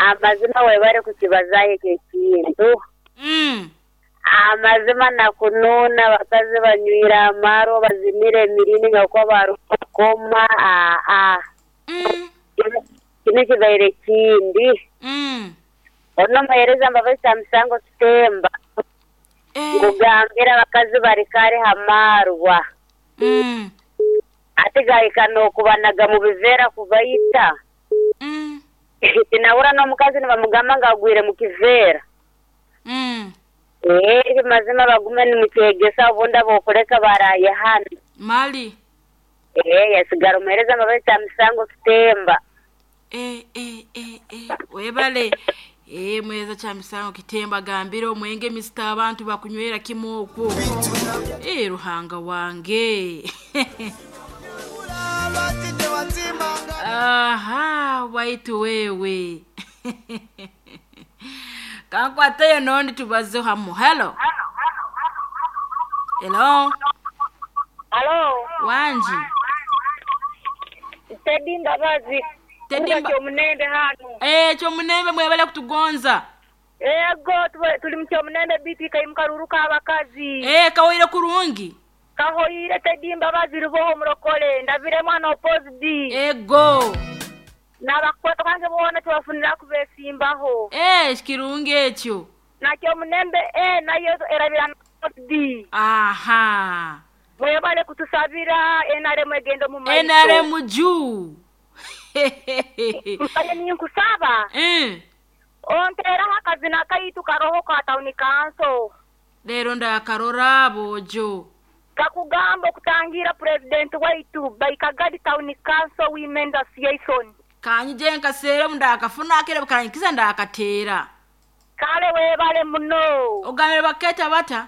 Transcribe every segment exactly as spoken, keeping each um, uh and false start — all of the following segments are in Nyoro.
Amazima webale kukibazayo ekyo ekintu. Mm. Amazima nakunuuna abakazi banywire amarwa bazimire emirini nga kuba barukukoma aa Mm. kino kibaire kindi. Mm. Ono omuheereza Mbabazi Kyamusango Kitemba Eh. nkugambira abakazi bari kare hamarwa Mm. ate gahika n'okubanaga mu biveera kubaita. Mm. Tinahura n'omukazi nibamugamba ngu agwire mu kiveera. Mm. Ee mazima bagume nimukyegesa obundi abokuleka baraye hano. Mali. Ee yasigara omuheereza Mbabazi Kyamusango Kitemba. Eh, eh, eh, eh. Webale. Eh, mweza Kyamisango Kitemba gambira omwenge misita abantu bakunywera kimu okwo. Eh, Ruhanga wange. Aha, waitu wewe. Kankwatayo nondi tubaze hamu. Hello. Hello. Halo, Wanji. Teddy Mbabazi. Teddy Kuba Mba- Kyomunembe hano. Eh, Kyomunembe mwebale kutugonza. Ego tuwe- tuli mu Kyomunembe biti kaimukaruru k'abakazi. Eh, kawaire kurungi. Kahoyire Teddy Mbabazi ruboho murokole ndabire mwana opposite. Ego. N'abakwata kange boona tubafunira kubesimbaho. Eh, kirungi ekyo. Na Kyomunembe eh nayo erabira opposite. Aha. Mwebale kutusabira N R M egendo mu maiso. N R M juu. Mbaye ninkusaba. Eh. Onteraho akazina kaitu karoho ka town council. Leero ndakarora bojo. Kakugamba okutangira president waitu by Kagadi Town Council Women's Association. Kanyije nkaseere ndakafuna akere kanyikiza ndakateera. Kale webale muno. Ogambire baketa bata?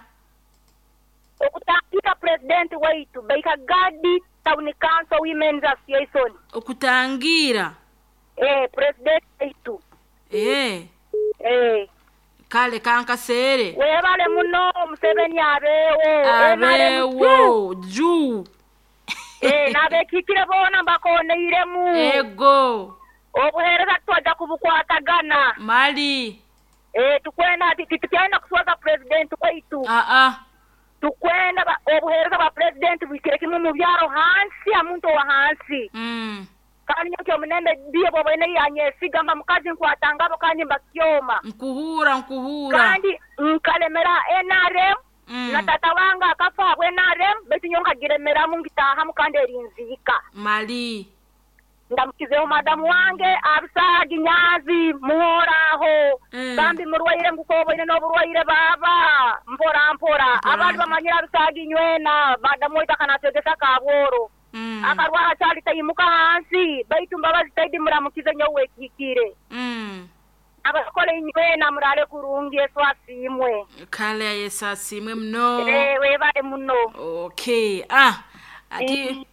Okutangira president waitu by Kagadi Town Council Women's Association. Okutangira. Eh, president waitu. Eh. Eh. Kale kankaseere. Webale muno Museveni abeewo. Abeewo juu. Eh, n'abekiikire boona mbakoneiremu. Ego. Obuheereza twajja kubukwatagana. Mali. Eh, tukwenda titukyalina kuswaza president waitu. Ah ah. Tukwenda ba- obuheereza bwa president bwikire kimu mu byaro hansi amuntu owa hansi. Mm. Kandi nyo Kyomunembe ndiye bwobwene yanyesiga mba mukazi nkwatangabo kandi mbakyoma. Nkuhura nkuhura. Kandi nkalemera N R M Mm. na tata wange akafa habwa N R M baitu nyo nkagiremeramu ngitahamu kandi erinziika. Mali. Ndamukizeho madamu wange Abisagi Nyazi muhoraho. Mm. Bambi murwaire ngukoboine n'oburwaire baba mpora mpora. Mpora. Abandi bamanyira Abisagi nywena madamu waitu akanatwegesa kabworo. Mm. Akarwara kyali tayimuka hansi baitu Mbabazi Teddy muramukize nyowe wekiikire. Mm. Abakole nywena murale kurungi Yesu asiimwe. Kale Yesu asiimwe muno. Eh, webale muno. Okay. Ah. Ati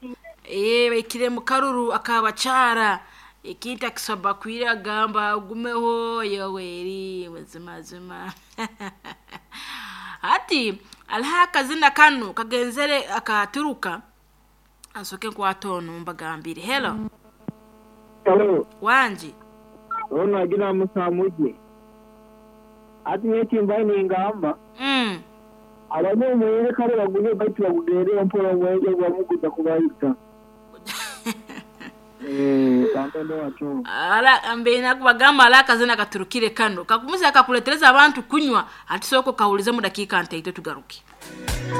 eh baikire mu karuru akabacara ekintu akisoba kwira agamba ogumeho Yoweri mazima. Ati aliho akazina kano kagenzere akaturuka ansoke nkwata ono mbagambire. Hello. Hello. Wanji. Ono agira musamuje. Ati nyekimba ningamba. Mm. Abanye omwenge kale bagumye baitu bagugere mpola omwenge gwamuguza kubayita. Eh, kantendo wacho. Ala ambe nakubagamba ala akazina katurukire kano kakumuza akakuletereza abantu kunywa ati soko kawulize mu dakika ntaito tugaruke.